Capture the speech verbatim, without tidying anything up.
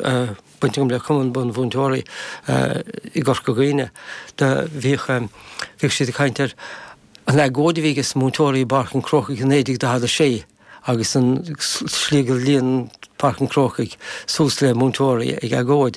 Baint agam le Cumann Bunmhúinteoirí i gCorca Dhuibhne. Bhíodh bhíodh siad ag caint ar an agóid a bhí ag múinteoirí i bPáirc an Chrócaigh i naoi déag daichead a sé agus an slí gur líon Páirc an Chrócaigh suas le múinteoirí ag agóid.